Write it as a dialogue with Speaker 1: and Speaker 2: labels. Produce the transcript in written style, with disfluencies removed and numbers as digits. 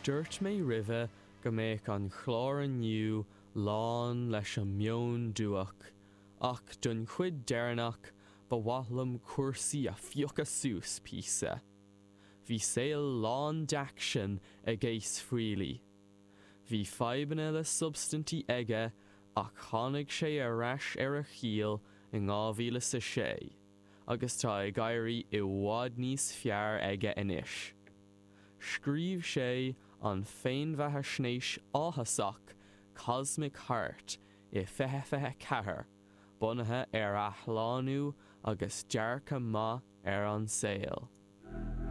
Speaker 1: Dúirt mé roimhe go mbeadh an chlár inniu lán leis an meon duach, ach don chuid deireanach ba mhaith liom cúrsaí a phiocadh suas píosa. Bhí saol lán d'aicsean ag Ace Frehley. Bhí fadhbanna le substaintí aige ach tháinig sé ar ais ar a chiall in 2006 agus tá ag éirí i bhfad níos fearr aige anois. Scríobh sé an féinbheathaisnéis áthasach Cosmic Heart i 2024, bunaithe ar athshlánú agus dearcadh maith ar an saol.